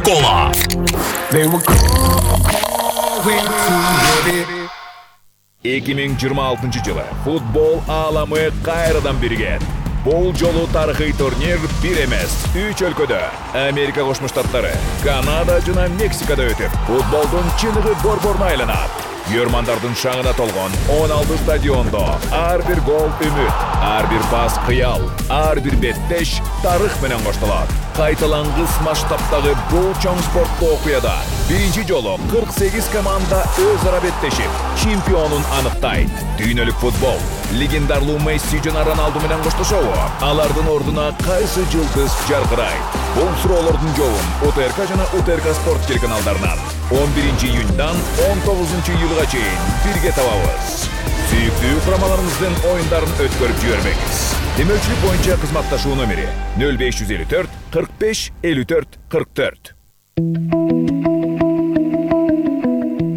Кока-Кола. 2026 жылы футбол ааламы кайрадан бирген. Бул жолу тарыхый турнир бир эмес, 3 өлкөдө Америка Кошмо Штаттары, Канада жана Мексикада өтүп, футболдун чыныгы борборуна айланат. Көрмандардын шаңына толгон 16 стадиондо ар бир гол үмүт, ар бир пас кыял, ар бир беттеш тарых менен коштолот. Кайталангыс масштабтагы бул чоң спорттуу окуяда биринчи жолу 48 команда өз ара беттешип, чемпионун аныктайт. Дүйнөлүк футбол легендарлуу Месси жана Роналду менен коштошобу? Алардын ордуна кайсы жылдыз жаркырайт? Бул суроолордун жообун УТРК жана УТРК спорт телеканалдарынан 11 июньдан 19 июлга чейин бирге табабыз. Сүйүктүү курамаларыбыздын оюндарын өткөрүп жибермеңиз. Демөчүлүк боюнча кызматташуу номери 0554 45 54 44.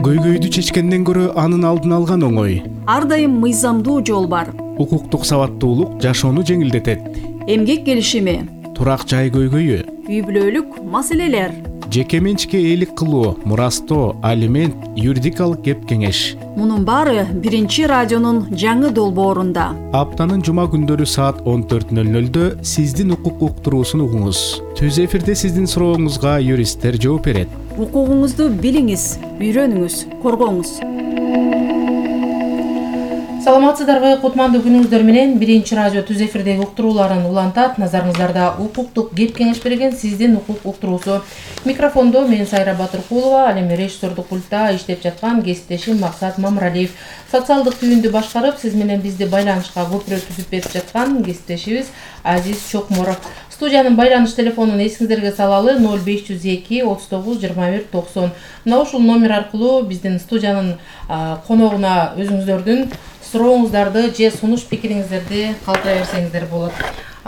Көйгөйдү чечкенден көрө анын алдын алган оңой. Ар дайым мыйзамдуу жол бар. Укуктук сабаттуулук жашоону жеңилдетет. Эмгек келишими, турак жай көйгөйү, үй бүлөлүк маселелер, жеке менчикке ээлик кылуу, мурастоо, алимент, юридикалык кеп кеңеш. Мунун баары биринчи радионун жаңы долбоорунда. Аптанын жума күндөрү саат 14:00 сиздин укук уктуруусун угуңуз. Түз эфирде сиздин сурооңузга юристтер жооп берет. Укугуңузду билиңиз, үйрөнүңүз, коргоңуз. Саламатсыздарбы, кутмандуу күнүңүздөр менен биринчи радио түз эфирдеги уктурууларын улантат. Назарыңыздарда укуктук кеп кеңеш берген сиздин укук уктуруусу. Микрофондо мен Сайра Батыркулова, ал эми режиссердук пультта иштеп жаткан кесиптешим Максат Мамыралиев. Социалдык түйүндү башкарып, сиз менен бизди байланышка көпүрө түзүп берип жаткан кесиптешибиз Азиз Чокморов. Студиянын байланыш телефонун эсиңиздерге салалы 0502 39 21 90. Мына ушул номер аркылуу биздин студиянын коногуна өзүңүздөрдүн сурооңуздарды же сунуш пикириңиздерди калтыра берсеңиздер болот.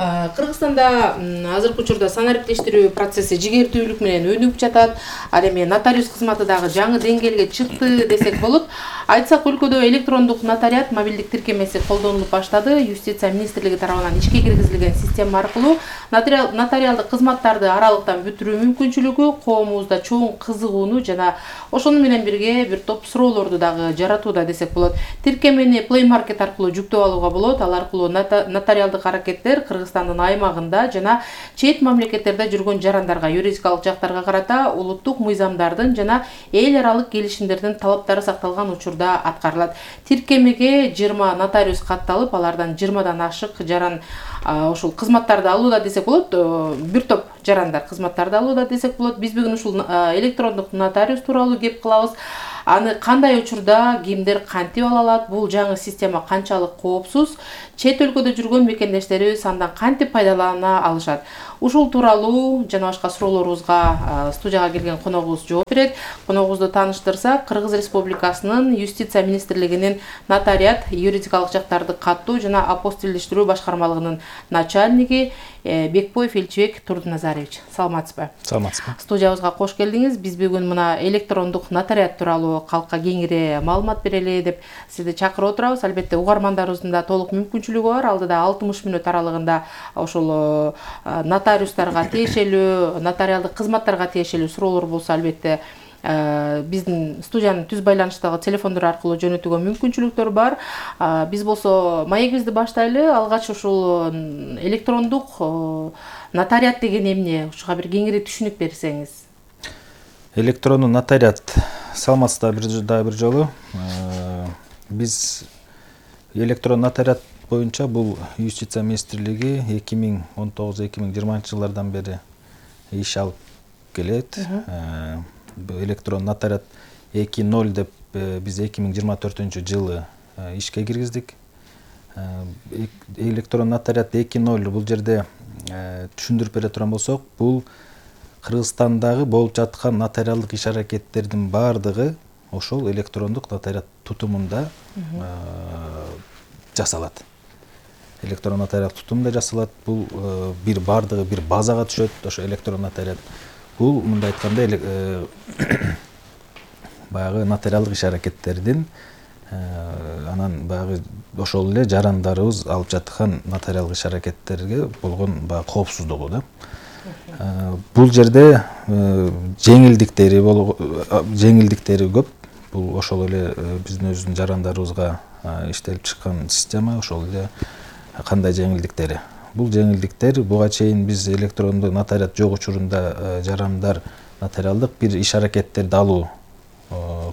Кыргызстанда азыркы учурда санариптештирүү процесси жигертүүлүк менен өнүгүп жатат. Ал эми нотариус кызматы дагы жаңы деңгээлге чыкты десек болот. Айтсак, өлкөдө электрондук нотариат мобилдик тиркемеси колдонулуп баштады. Юстиция министрлиги тарабынан ишке киргизилген система аркылуу нотариалдык кызматтарды аралыктан бүтүрүү мүмкүнчүлүгү коомубузда чоң кызыгууну жана ошону менен бирге бир топ суроолорду дагы жаратууда десек болот. Тиркемени Play Market аркылуу жүктөп алууга болот. Ал аркылуу нотариалдык аракеттер Кыргызстандын аймагында жана чет мамлекеттерде жүргөн жарандарга, юридикалык жактарга карата улуттук мыйзамдардын жана эл аралык келишимдердин талаптары сакталган учурда аткарылат. Тиркемеге 20 нотариус катталып, алардан 20дан ашык жаран ушул кызматтарды алууда десек болот. Бир топ жарандар кызматтарды алууда десек болот. Биз бүгүн ушул электрондук нотариус тууралуу кеп кылабыз. Аны кандай учурда кимдер кантип ала алат? Бул жаңы система канчалык коопсуз? Чет өлкөдө жүргөн мекендештерибиз андан кантип пайдалана алышат? Ушул тууралуу жана башка суроолорубузга студияга келген коногубуз жооп берет. Коногубузду тааныштырсак, Кыргыз Республикасынын Юстиция министрлигинин нотариат, юридикалык жактарды каттоо жана апостилдештирүү башкармалыгынын начальниги Бекбоев Элчибек Турдуназарович. Саламатсызбы? Саламатсызбы. Студиябызга кош келдиңиз. Биз бүгүн мына электрондук нотариат тууралуу калкка кеңири маалымат берели деп сизди чакырып отурабыз. Албетте угармандарыбыздын да толук мүмкүнчүлүгү бар. Алдыда 60 мүнөт аралыгында ошол нотариустарга тиешелүү, нотариалдык кызматтарга тиешелүү суроолор болсо, албетте биздин студиянын түз байланыштагы телефондор аркылуу жөнөтүүгө мүмкүнчүлүктөр бар. Биз болсо маегибизди баштайлы. Алгач ушул электрондук нотариат деген эмне? Ушуга бир кеңири түшүнүк берсеңиз. Электрондук нотариат, саламатсыздар бир жолу. Биз электрондук нотариат боюнча бул Юстиция министрлиги 2019-2020 жылдардан бери иш алып келет. Электрондук нотариат 2.0 деп биз 2024 жылы ишке киргиздик. Электрондук нотариат 2.0 бул жерде түшүндүрүп бере турган болсок, бул Кыргызстандагы болуп жаткан нотариалдык иш аракеттердин баардыгы ошол электрондук нотариат тутумунда жасалат. Электрондук нотариат тутумунда жасалат. Бул бир баардыгы бир базага түшөт. Ошо электрондук нотариат бул мындай айтканда баягы нотариалдык иш аракеттердин анан баягы ошол эле жарандарыбыз алып жаткан нотариалдык иш аракеттерге болгон баягы коопсуздугу да. Бул жерде жеңилдиктери көп. Бул ошол эле биздин өзүбүздүн жарандарыбызга иштелип чыккан система. Ошол эле кандай жеңилдиктери? Бул жеңилдиктер буга чейин биз электрондуу нотариат жок учурунда жарандар нотариалдык бир иш аракеттерди алуу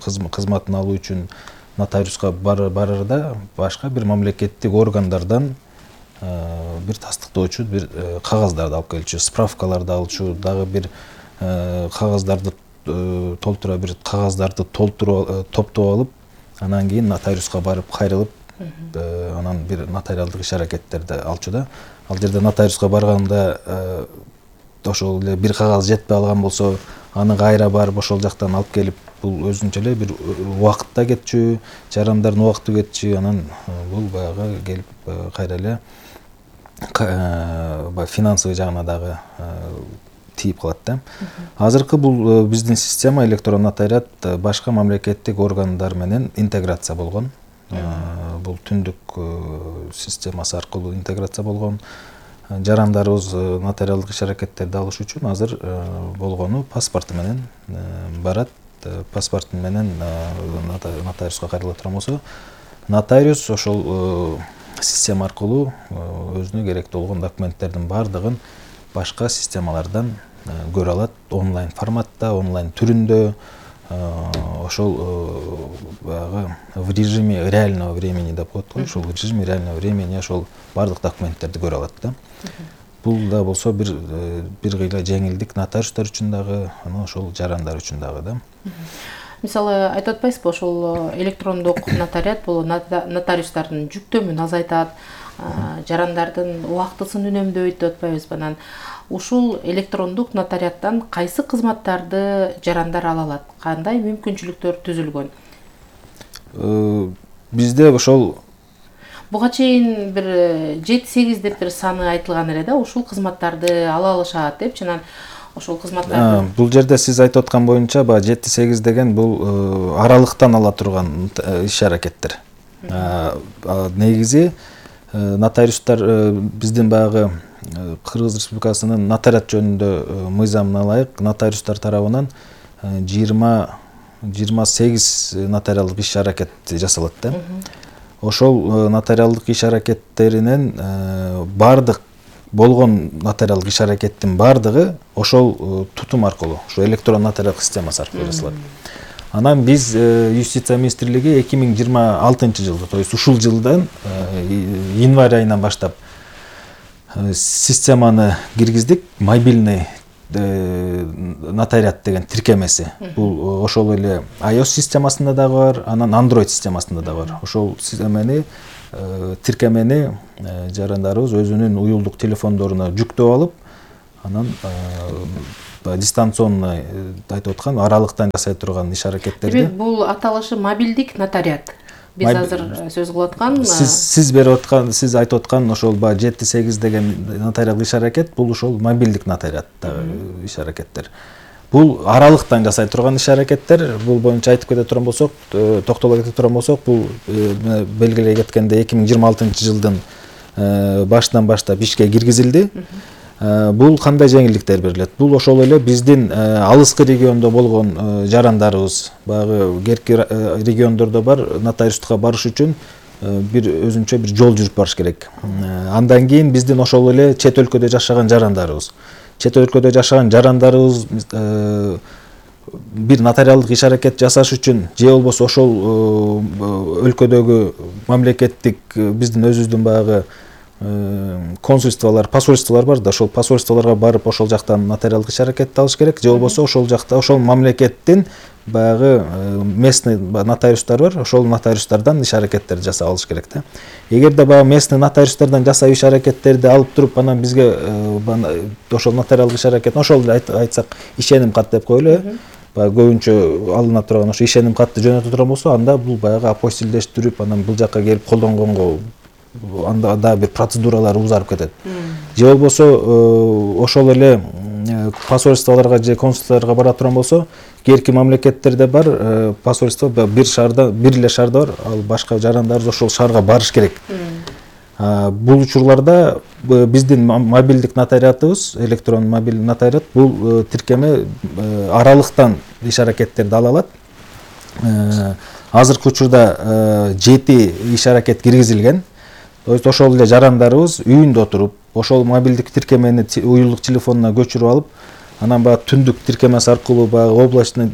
кызматын алуу үчүн нотариуска барарда башка бир мамлекеттик органдардан бир тастыктоочу бир кагаздарды алып келчү, справкаларды алчу, дагы бир кагаздарды толтура бир кагаздарды топтоп алып, анан кийин нотариуска барып кайрылып, анан бир нотариалдык иш аракеттерди алчу да. Ал жерде нотариуска барганда ошол эле бир кагаз жетпей алган болсо, аны кайра барып ошол жактан алып келип, бул өзүнчө эле бир убакыт да кетчү, жарандардын убакыты кетчү, анан бул баягы келип кайра эле финансовый жагына дагы тийип калат да. Азыркы бул биздин система электрондук нотариат башка мамлекеттик органдар менен интеграция болгон. Бул түндүк системасы аркылуу интеграция болгон. Жарандарыбыз нотариалдык иш аракеттерди алыш үчүн азыр болгону паспорту менен барат. Паспорту менен нотариуска кайрыла турган болсо, нотариус ошол система аркылуу өзүнө керектүү болгон документтердин баардыгын башка системалардан көрө алат, онлайн форматта, онлайн түрүндө, ошол баягы в режиме реального времени деп коет го, ошол режиме реального времени ошол баардык документтерди көрө алат да. Бул да болсо бир кыйла жеңилдик нотариустар үчүн дагы, анан ошол жарандар үчүн дагы да. Мисалы айтып атпайсызбы, ошол электрондук нотариат бул нотариустардын жүктөмүн азайтат, жарандардын убактысын үнөмдөйт деп атпайбызбы? Анан ушул электрондук нотариаттан кайсы кызматтарды жарандар ала алат? Кандай мүмкүнчүлүктөр түзүлгөн? Бизде ошол буга чейин бир 7-8 деп бир саны айтылган эле да, ушул кызматтарды ала алышат депчи. Анан ошол кызматтарды бул жерде сиз айтып аткан боюнча 7-8 деген бул аралыктан ала турган иш аракеттер. Негизи нотариустар биздин баягы Кыргыз Республикасынын нотариат жөнүндө мыйзамына ылайык нотариустар тарабынан 28 нотариалдык иш аракет жасалат да. Ошол нотариалдык иш аракеттеринен бардык болгон нотариалдык иш аракеттин бардыгы ошол тутум аркылуу, ошо электрон нотариалдык системасы аркылуу жасалат. Анан биз Юстиция министрлиги 2026 жылда, то есть ушул жылдан январь айынан баштап системаны киргиздик, мобильный нотариат деген тиркемеси. Бул ошол эле iOS системасында дагы бар, анан Android системасында дагы бар. Ошол тиркемени жарандарыбыз өзүнүн уюлдук телефондоруна жүктөп алып, анан дистанционно айтып аткан аралыктан жасай турган иш аракеттерди. Бул аталышы мобилдик нотариат. Биз азыр сөз кылып аткан сиз берип аткан, сиз айтып аткан ошол 7-8 деген нотариалдык иш аракет, бул ошол мобилдик нотариаттагы иш аракеттер. Бул аралыктан жасай турган иш аракеттер. Бул боюнча айтып кете турган болсок, токтоло кете турган болсок, бул белгилей кеткенде 2026 жылдын башынан баштап ишке киргизилди. Бул кандай жеңилдиктер берилет? Бул ошол эле биздин алыскы региондо болгон жарандарыбыз, баягы керки региондордо бар нотариустка барыш үчүн бир өзүнчө бир жол жүрүп барыш керек. Андан кийин биздин ошол эле чет өлкөдө жашаган жарандарыбыз. Чет өлкөдө жашаган жарандарыбыз бир нотариалдык иш аракет жасаш үчүн же болбосо ошол өлкөдөгү мамлекеттик биздин өзүбүздүн баягы консульстволор, посольстволор бар да, ошол посольстволорго барып ошол жактан нотариалдык иш аракетти алыш керек. Же болбосо ошол жакта ошол мамлекеттин баягы местный нотариустар бар, ошол нотариустардан иш аракеттерди жасап алыш керек да. Эгерде баягы местный нотариустардан жасап иш аракеттерди алып туруп, анан бизге ошол нотариалдык иш аракетин ошол айтсак ишеним кат деп коелу, баягы көбүнчө алына турган ошо ишеним катты жөнөтө турган болсо, анда бул баягы апостилдештирип, анан бул жакка келип колдонгонго анда да бир процедуралар узарып кетет. Же болбосо ошол эле посольстволорго же консулдуктарга бара турган болсо, керки мамлекеттерде бар посольство бир эле шаарда бар, ал башка жарандарыбыз ошол шаарга барыш керек. Бул учурларда биздин мобилдик нотариатыбыз, электрон мобилдик нотариат бул тиркеме аралыктан иш аракеттерди ала алат. Азыркы учурда 7 иш аракет киргизилген. То есть ошол эле жарандарыбыз үйүндө отуруп, ошол мобилдик тиркемени уюлдук телефонуна көчүрүп алып, анан баягы түндүк тиркемеси аркылуу баягы облачный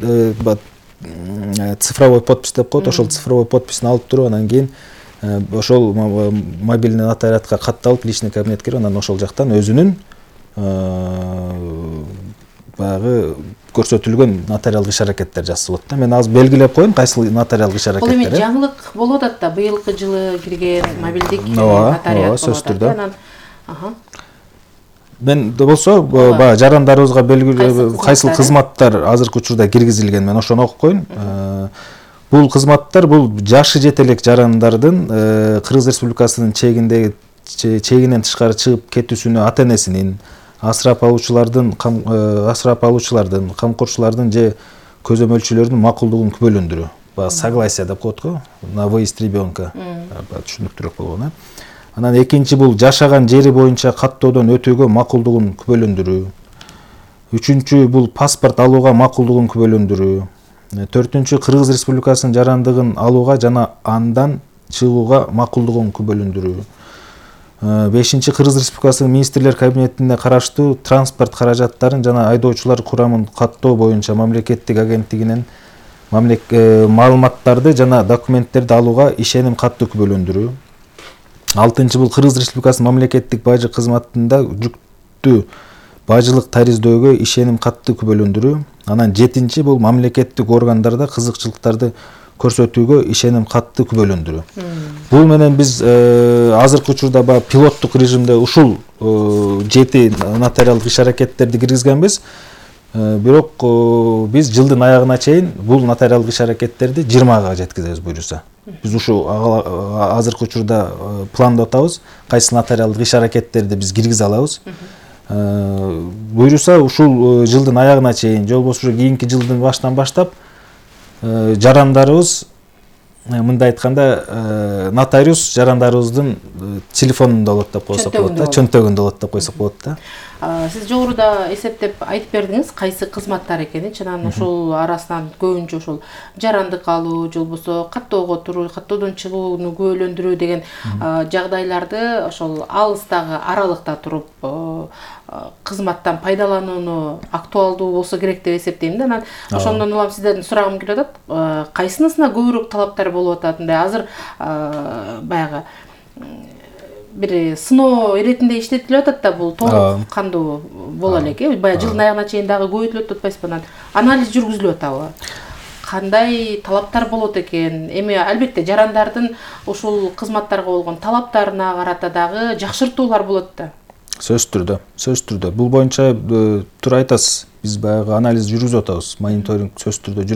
цифровой подпись деп коет, ошол цифровой подписин алып туруп, анан кийин ошол мобильный нотариатка катталып, личный кабинетке кирип, анан ошол жактан өзүнүн баягы көрсөтүлгөн нотариалдык иш аракеттер жасалат да. Мен азыр белгилеп коеюн кайсы нотариалдык иш аракеттер. Бул эми жаңылык болуп атат да, быйылкы жылы кирген мобилдик нотариат болуп атат. Мен болсо баягы жарандарыбызга белгилүү кайсыл кызматтар азыркы учурда киргизилген, мен ошону окуп коеюн. Бул кызматтар бул жашы жете элек жарандардын Кыргыз Республикасынын чегинен тышкары чыгып кетүүсүнө ата-энесинин, асырап алуучулардын, камкорчулардын же көзөмөлчүлөрдүн макулдугун күбөлөндүрүү. Баягы согласие деп коет го, на выезд ребенка. Түшүнүктүүрөөк болгон. Анан экинчи бул жашаган жери боюнча каттоодон өтүүгө макулдугун күбөлөндүрүү. Үчүнчү бул паспорт алууга макулдугун күбөлөндүрүү. Төртүнчү Кыргыз Республикасынын жарандыгын алууга жана андан чыгууга макулдугун күбөлөндүрүү. Бешинчи Кыргыз Республикасынын министрлер кабинетине караштуу транспорт каражаттарын жана айдоочулар курамын каттоо боюнча мамлекеттик агенттигинен маалыматтарды жана документтерди алууга ишеним катты күбөлөндүрүү. Алтынчы бул Кыргыз Республикасынын мамлекеттик бажы кызматында жүктүү бажылык тариздөөгө ишеним катты күбөлөндүрүү. Анан жетинчи бул мамлекеттик органдарда кызыкчылыктарды көрсөтүүгө ишеним катты күбөлөндүрүү. Бул менен биз азыркы учурда баягы пилоттук режимде ушул 7 нотариалдык иш аракеттерди киргизгенбиз. Бирок биз жылдын аягына чейин бул нотариалдык иш аракеттерди 20га жеткизебиз буюрса. Биз ушул азыркы учурда пландап атабыз, кайсы нотариалдык иш аракеттерди биз киргизе алабыз. Буюрса ушул жылдын аягына чейин, же болбосо кийинки жылдын башынан баштап жарандарыбыз, мындай айтканда, нотариус жарандарыбыздын телефонунда болот деп койсок болот да, чөнтөгүндө болот деп койсок болот да. Сиз жогоруда эсептеп айтып бердиңиз кайсы кызматтар экенин. Анан ошол арасынан көбүнчө ошол жарандык алуу, же болбосо каттоого туруу, каттоодон чыгууну күбөлөндүрүү деген жагдайларды ошол алыстагы аралыкта туруп кызматтан пайдаланууну актуалдуу болсо керек деп эсептейм да. Анан ошондон улам сизден сурагым келип атат. Кайсынысына көбүрөөк талаптар болуп атат? Азыр баягы бир сыноо иретинде иштетилип атат да, бул толук кандуу боло элек. Баягы жылдын аягына чейин дагы көбөйтүлүп атпайсызбы? Анан анализ жүргүзүлүп атабы? Кандай талаптар болот экен? Эми албетте жарандардын ушул кызматтарга болгон талаптарына карата дагы жакшыртуулар болот да. Сөзсүз түрдө. Бул боюнча туура айтасыз. Биз баягы анализ жүргүзүп атабыз. Мониторинг сөзсүз түрдө